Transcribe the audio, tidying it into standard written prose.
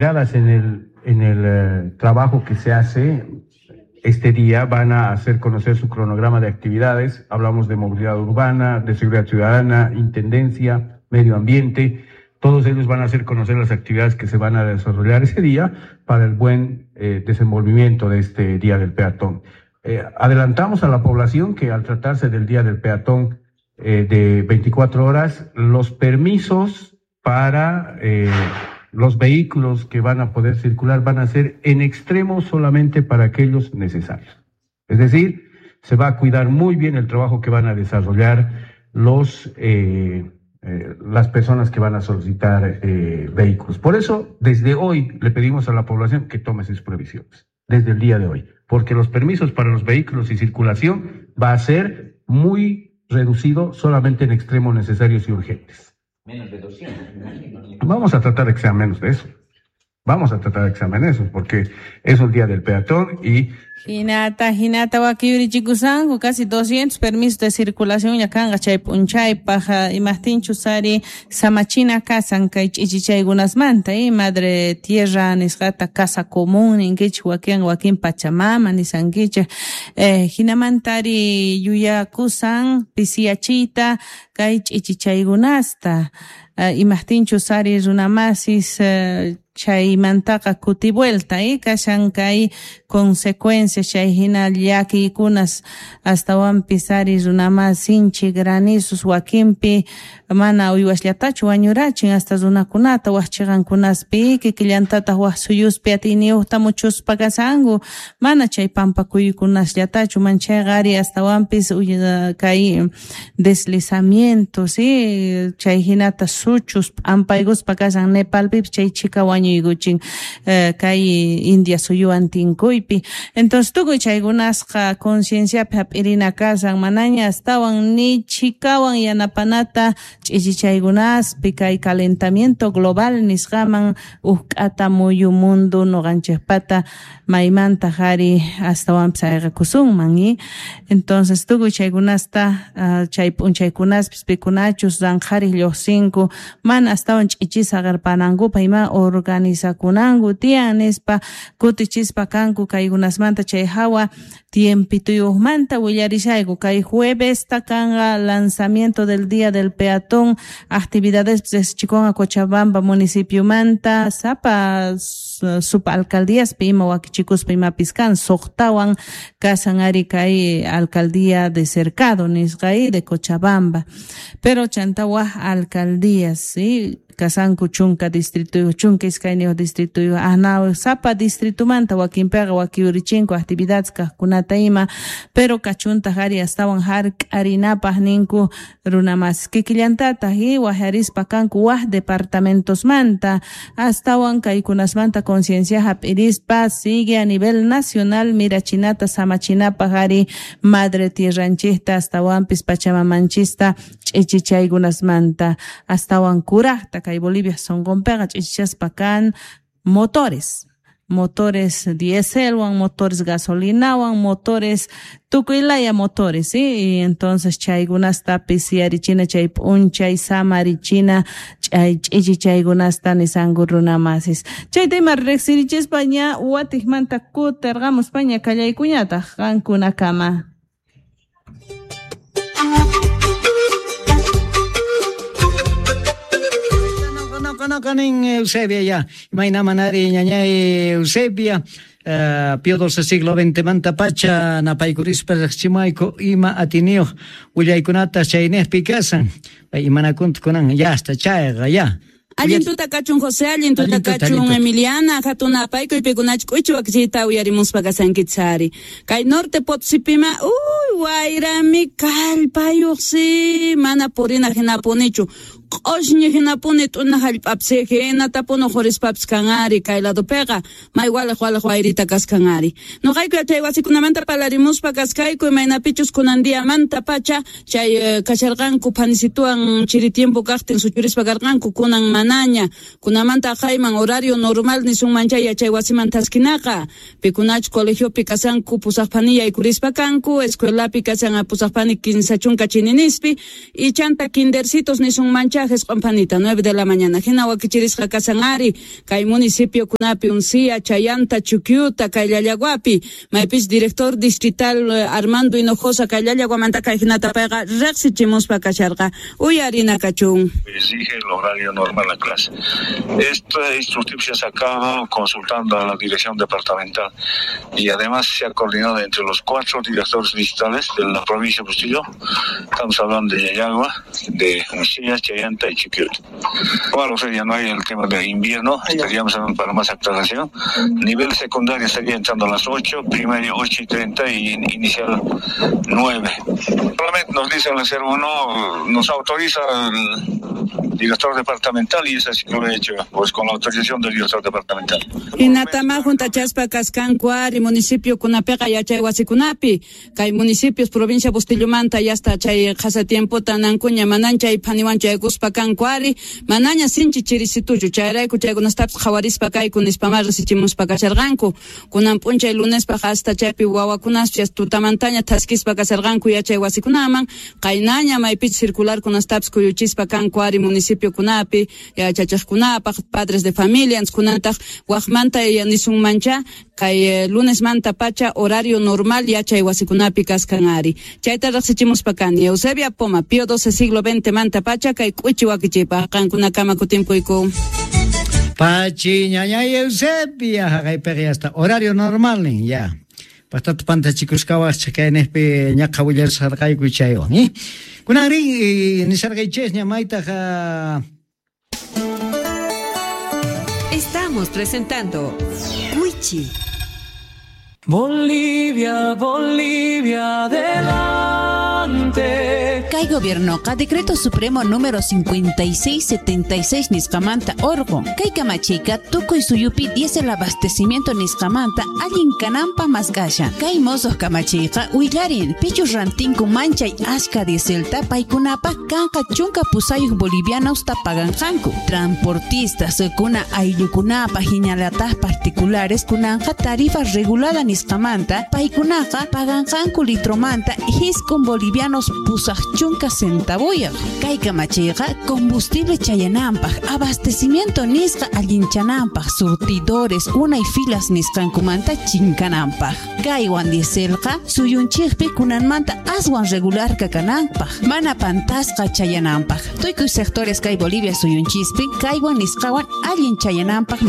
En el trabajo que se hace este día, van a hacer conocer su cronograma de actividades. Hablamos de movilidad urbana, de seguridad ciudadana, intendencia, medio ambiente. Todos ellos van a hacer conocer las actividades que se van a desarrollar ese día para el buen desenvolvimiento de este Día del Peatón. Adelantamos a la población que, al tratarse del Día del Peatón de 24 horas, los permisos para los vehículos que van a poder circular van a ser en extremo solamente para aquellos necesarios. Es decir, se va a cuidar muy bien el trabajo que van a desarrollar las personas que van a solicitar vehículos. Por eso, desde hoy le pedimos a la población que tome sus previsiones, desde el día de hoy, porque los permisos para los vehículos y circulación va a ser muy reducido, solamente en extremos necesarios y urgentes. Menos de 200, me imagino. Vamos a tratar de que sea menos de eso. Vamos a tratar de que sea menos de eso, porque es un Día del Peatón y Hinata, hinata wakiyurichikusanku casi 200 permisos de circulación ya kanqa chay p'unchaypaj. Imajtinchus ari samachina kasan kay ch'ichichaykunasmanta madre tierra nisqata, casa común ninkichik wakin, wakin Pachamama nisankichik. Hinamanta ari yuyakusan pisiyachiyta kay ch'ichichaykunasta, imajtinchus ari runamasis chaymantaqa kuti vuelta kashan kay consecuencias, chay hina llakiykunas. Astawanpis ari runamas sinchi granizos wakinpi mana uywasllatachu wañurachin, hasta runakunata waj chiqankunaspi, kikillantataq waj suyuspi atiyniyuqta muchuspa kasanku, mana chay pampakuykunasllatachu, manchayqa ari astawanpis kay deslizamientos, chay hinata suchus p'ampaykuspa kasan. Nepalpipis chay chhika wañuykuchin kay India suyuwan tinkuypi. Entonces tukuy chaykunasqa concienciapi hap'irina kasan, manaña astawan ni chhikawan yanapanata ch'ichichaykunaspi kay calentamiento global nisqaman uj k'ata muyu mundo nuqanchikpata maymantaq ari astawanpis ayqikusunman. Entonces tukuy chaykunasta chay p'unchaykunaspis pikunachus ranqhariq lluqsinku mana astawan ch'ichis saqirpanankupaq ima organizakunanku tiyan nispa kutichispa kanku kaykunasmanta. Chay hawa tiempituyuqmanta willarishayku. Kay juevesta kanqa lanzamiento del Día del Peatón, actividades riqsichikunqa Cochabamba municipiomanta, sapa subalcaldíaspi ima wakichikuspa imapis kan. Suqtawan kasan ari kay alcaldía de Cercado nisqa de Cochabamba, pero chanta waj alcaldías, ¿sí? Kasanku 10 distritoyuq, 12 distritoyuq, anaw sapa distritumanta wakinpiqa wakiyurichinku actividades kaqkunata ima, pero kachuntaq ari astawan hark'arinapaq ninku runamasis. Kikillantataq wajarispa kanku waj departamentosmanta astawan kaykunasmanta conciencia hap'irispa sigue a nivel nacional mirachinata samachinapaq ari madre tierranchikta, astawanpis Pachamamanchista ch'ichichaykunasmanta astawan kuraqta. Kay Bolivia sunqunpiqa ch'ichichaspa kan motores dieselwan, motores gasolinawan, motores, tukuy laya motores, ¿sí? Y entonces chaykunastapis yarichina chay p'unchay samarichina chay ch'ichichaykunasta nisanku runamasis. Chayta ima riqsirichispa ña watiqmanta kutirqamuspaña kallaykuñataq qankunakama. Kanin Eusebia ya. Imayna manari, ñañay Eusebia, Pío XII siglo XX manta pacha napaykurispa riqchimayku ima atiniyuq willaykunata chaynejpi kasan. Imanakunta kunan yasta chayqa ya. Allin tuta kachun, José, allin tuta kachun, Emiliana, hatun apaykuy pikunach k'uchu wakichiyta uyarimuspa kasankichari. Kay Norte Potosipima, uy, wayrami kallpayuqsi, mana purina hinapunichu. Q'ushñi hinapuni t'una hallp'apsi hinatapuni qurispapis kanari kay ladopiqa may waliq waliq wayrita kaskanari. Nuqayku chay wasikunamanta parlarimuspa kaskayku imaynapichus kunan diamanta pacha chay kasharqanku phanisituwan chiri tiempo kaqtin suchurispa karqanku, kunan manaña, kunamanta aqayman horario normal nisunman chay yachay wasiman taskinaqa. Pikunach colegiopi kasanku pusaqpani yaykurispa kanku, escuelapi kasan pusaqpani 30 chininispi, y chanta kindercitos nisunman. pacha jesq'onpanita 9 de la mañana hina wakichirisqa kasan ari kay municipio kunapi Uncía, Chayanta, Chuquiuta, kay Llallaguapi maypis director distrital Armando Hinojosa kay Llallaguamanta kay hinata payqa riqsichimuspa kasharqa uyarina kachun. Exige el horario normal a la clase. Este instructivo se ha sacado consultando a la dirección departamental y además se ha coordinado entre los 4 directores distritales de la provincia de Bustillo. Estamos hablando de Llallagua, de Uncía, Chayanta y Chiquiuta. Bueno, o sea, ya no hay el tema de invierno, estaríamos hablando para más aclaración. Nivel secundario estaría entrando a las 8, primaria 8:30 y inicial 9. Solamente nos dicen el 01, nos autoriza el director departamental y es así que lo he hecho, pues con la autorización del director departamental. Hinatama juntachaspa kaskanku ari municipio kunapiqa yachay wasikunapi kay municipios provincia Bustillomanta ya hasta chay qhasa tiempota nankuña manan chay phaniwan chaykuspa kanku ari manaña sinchi chirisituchu chayrayku chaykunastapis qhawarispa kayku nispamá risichimuspa kasharqanku kunan p'unchay lunespaq hasta chaypi wawakunaspas tutamantaña thaskispa kasharqanku yachay wasikunaman qaynaña maypich circular kunastapis kuyuchispa kanku ari municipio kunapi yachachiqkunapaq padres de familia kunantaq waqmanta nisunmancha kay lunesmanta pacha horario normal yachay wasikunapi kaskan ari chayta riqsichimuspa kani Eusebia Poma Pío XII siglo XX manta pacha kay k'uchi wakichipaq qankunakama kutimpuyku. Pachi ñañay Eusebia haqaypiqa hasta horario normal nin ya. Pastata pantachikusqawaq kaynejpi ñaqa willasharqayku chaywan, ¿eh? Kunanri nisharqaychis ña maytaq. Estamos presentando Wichi. Bolivia, Bolivia, adelante. Kay gobiernoqa decreto supremo número 5676 nisqamanta orqun. Kay kamachiyqa tukuy suyupi diésel abastecimiento nisqamanta allin kananpa mask'ashan. Kay mosoq kamachiyqa willarin pichus rantinku manchay ashka dieselta paykunapaq kanqa 18 bolivianosta paganqanku. Transportistas kuna ayllukunapaq hinallataq particulares kunanqa tarifa regulada nisqamanta paykunaqa paganqanku litromanta 9 bolivianos 80 centavuyaq. Kay kamachiyqa combustible chayananpaq, abastecimiento nisqa allinchananpaq, surtidores unay filas nisqankumanta chinkananpaq. Kaywan dieselqa suyunchikpi kunanmanta aswan regular kakananpaq, mana pantasqa chayananpaq. Tukuy sectores kay Bolivia suyunchispi kaywan nisqawan allin chayananpaq.